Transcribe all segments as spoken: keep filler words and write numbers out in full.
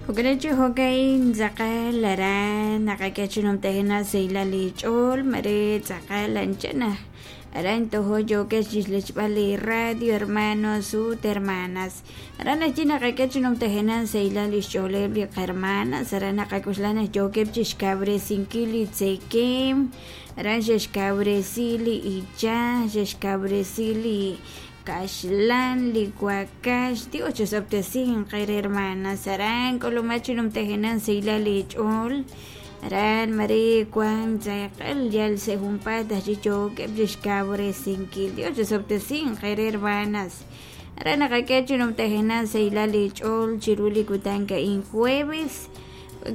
Jo'kan jo'ka'in tz'aqal aran naqak'e chi numtajenaq sahilal li ch'ool mare tz'aqal anchana aran tojo yookeb' chixlechb'al li radio hermanos ut hermanas aran ajwi' naqak'e chi numtajenaq sahilal li xch'ooleb' li qahermanas aran naqak'uxla naq yookeb' chixkawresinkil li tzekem aran xexkawresi li ichaj xexkawresi li kaxlan li wakax Dios chosob'tesinq qere hermanas aran k'ulumaj chi numtajenaq sahilal li ch'ool aran mare wan tz'aqal yal sa' junpaat ajwi' yookeb' chixkawresinkil Dios chosob'tesinq qere hermanas aran naqak'e chi numtajenaq sahilal li ch'ool chiru li kutan ka'in jueves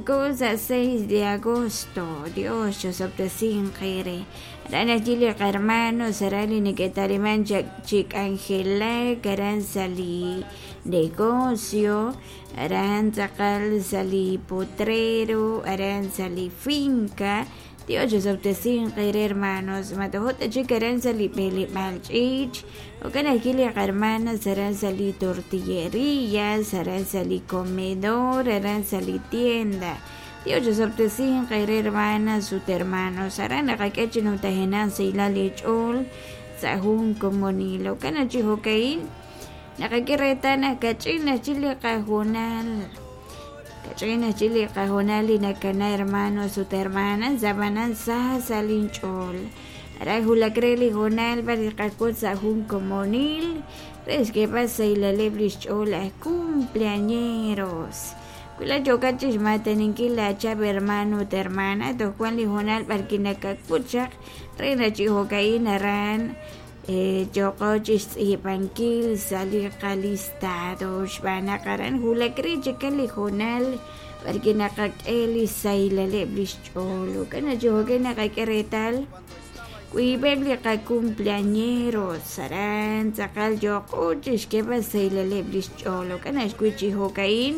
cosa seis de agosto Dios chosob'tesinq qere aran ajwi' li qahermanos aran li neke'taliman chik'anjelak aran sa' li negocio aran tz'aqal sa' li potrero aran sa' li finca Dios chosob'tesinq qere hermanos matojot chik aran sa' li b'eleb'aal ch'iich jo'kan ajwi' li qahermanas aran sa' li tortilleria aran sa' li comedor aran sa' li tienda Dios chosob'tesinq qere hermanas ut hermanos aran naqak'e chi numtajenaq sahilal li ch'ool sa' jun komonil jo'kan chi jo'ka'in naqak'e reetal naq kach'in ajwi' li qajunal kach'in ajwi' li qajunal li nakana hermanos ut hermanas ab'anan sa sa' linch'ool aran wulak re li hoonal b'ar li qak'ut sa' jun komonil re xk'eeb'al sahilaleb' li xch'ool aj cumpleañeros wila yookat chixmataninkil laachab' hermano ut hermana toj wan li hoonal b'ar kinakak'ut chaq re naq chi jo'ka'in aran yooqo chixtz'iib'ankil sa' li qalistado xb'aan naq aran wulak re chikal li hoonal b'ar kinaqak'e li sahilaleb' li xch'ool jo'kan naq chi jo'ka'in naqak'e reetal wiib'eb' li qacumpleañeros aran tz'aqal yooqo chixk'eeb'al sahilaleb' li xch'ool jo'kan ajwi' chi jo'ka'in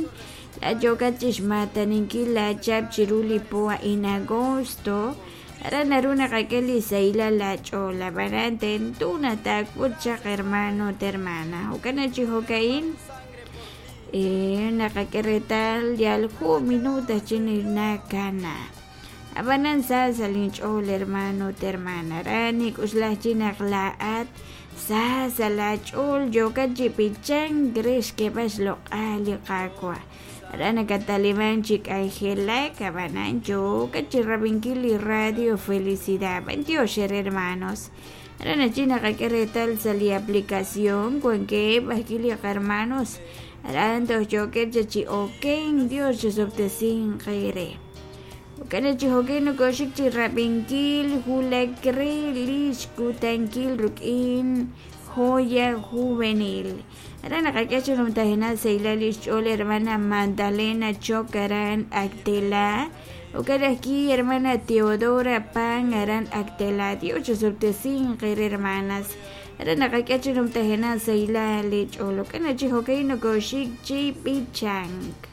la yookat chixmataninkil laachab' chiru li po a'in agosto aran naru naqak'e li sahilal laach'ool ab'anan tento naq taak'ut chaq hermano ut hermana jo'kan naq chi jo'ka'in eh naqak'e reetal yal jun minuto chi nakana ab'anan sa sa' linch'ool hermano ut hermana aran nik'uxlaj chi naq laa'at sa sa' laach'ool yookat chi pichank re xk'eeb'al xloq'al li Qaawa' aran nakataliman chi k'anjelak ab'anan yookat chi rab'inkil li radio Felicidad b'antiox hermanos aran ajwi' naqak'e reetal sa' li aplicación wankeb' ajwi' li qahermanos aran toj yookeb' chi oken Dios chosob'tesinq qere jo'kan chi jo'kan nokoxik chi rab'inkil wulak re li xkutankil ruk'in joya juvenil aran naqak'e chi numtajenaq sahilal li xch'ool hermana Magdalena Choc aran Actela jo'kan ajwi' hermana Teodora Pan aran Actela Dios chosob'tesinq qere hermanas aran naqak'e chi numtajenaq sahilal li ch'ool jo'kan chi jo'kan nokoxik chi b'ichank.